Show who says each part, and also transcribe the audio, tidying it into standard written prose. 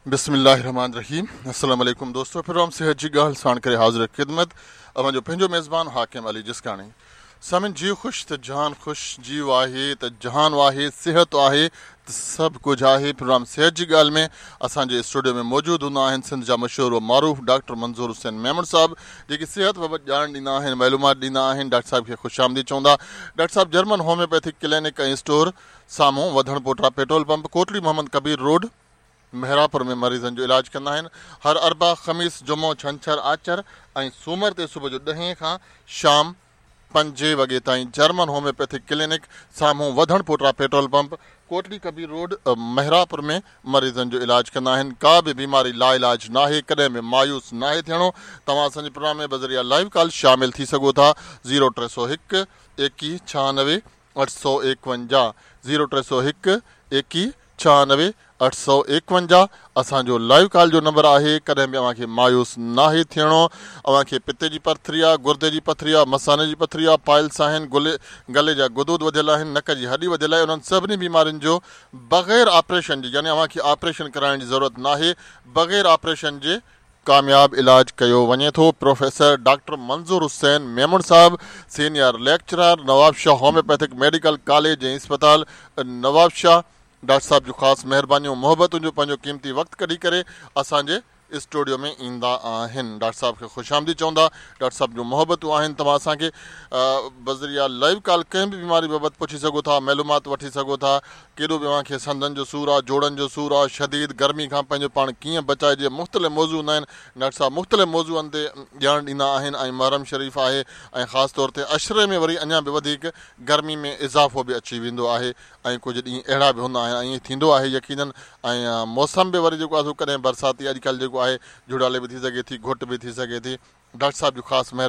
Speaker 1: بسم الله الرحمٰن الرحيم السلام عليڪم دوستو پروگرام صحت جي ڳالهه ساڻ ڪري حاضر خدمت اوهان جو پنهنجو ميزبان حاڪم علي جسڪاڻي سامعين جيء خوش ته جهان خوش جيء آهي ته جهان آهي صحت آهي ته سڀ ڪجهه آهي پروگرام صحت جي ڳالهه ۾ اسان جي اسٽوڊيو ۾ موجود هوندا آهن سنڌ جا مشهور و معروف ڊاڪٽر منظور حسين ميمڻ صاحب جيڪي صحت بابت ڄاڻ ڏيندا آهن معلومات ڏيندا آهن ڊاڪٽر صاحب کي خوش آمديد چوندا ڊاڪٽر صاحب جرمن هوميوپيٿڪ ڪلينڪ ۽ اسٽور سامهون وڌڻ پوٽا petrol pump Kotri Muhammad Kabir road Mehrapur ۾ مريضن جو علاج ڪندا آهن. هر اربع، خميس، جمعو، ڇنڇر، آچر ۽ سومر تي صبح جو ڏهين کان شام پنجين وڳي تائين جرمن هوميوپيٿڪ ڪلينڪ سامهون وڌڻ پوٽا petrol pump, Kotri Kabir road, Mehrapur ۾ مريضن جو علاج ڪندا آهن. ڪا به بيماري لاعلاج ناهي، ڪڏهن به مايوس ناهي ٿيڻو. توهان اسان جي پروگرام ۾ بذريعه لائيو ڪال شامل ٿي سگهو ٿا زيرو 301 21 96 851 زيرو 301 21 96 851 اسان جو لائيو ڪال جو نمبر آهي ڪڏهن به اوهان کي مايوس ناهي ٿيڻو اوهان کي پتي جي پٿري آ گردي جي پٿري آ مثاني جي پٿري آ پائلس آهن گلي گلي جا غدود وڌيل آهن نڪ جي هڏي وڌيل آهي انهن سڀني بيمارين جو بغير آپريشن جي يعني اوهان کي آپريشن ڪرائڻ جي ضرورت ناهي بغير آپريشن جي ڪامياب علاج ڪيو وڃي ٿو پروفيسر ڊاڪٽر منظور حسين ميمڻ صاحب senior lecturer Nawabshah homeopathic medical college ۽ اسپتال نوابشاهه ڊاڪٽر صاحب جون خاص مهربانيون محبتون جو پنهنجو قيمتي وقت ڪڍي ڪري اسان جي اسٽوڊيو ۾ ايندا آهن ڊاڪٽر صاحب کي خوش آمديد چوندا ڊاڪٽر صاحب جون محبتون آهن توهان اسان کي بذريعه لائيو ڪال ڪنهن به بيماري بابت پڇي سگهو ٿا معلومات وٺي سگهو ٿا ڪيڏو به اوهان کي سنڌن جو سور آ جوڙن جو سور آ شديد گرمي کان پنهنجو پاڻ ڪيئن بچائجي مختلف موضوع هوندا آهن ڊاڪٽر صاحب مختلف موضوعن تي ڄاڻ ڏيندا آهن ۽ محرم شريف آهي ۽ خاص طور تي عشري ۾ وري اڃا به وڌيڪ گرمي ۾ اضافو به اچي ويندو آهي ۽ ڪجهه ڏينهن اهڙا به هوندا آهن ۽ ائين ٿيندو آهي يقينن ۽ موسم به وري جيڪو آهي سو ڪڏهن برساتي اڄڪلهه جيڪو آهي جهڙالي به ٿي سگهي ٿي گهٽ به ٿي سگهي ٿي ڊاڪٽر صاحب جون خاص مهربانيون.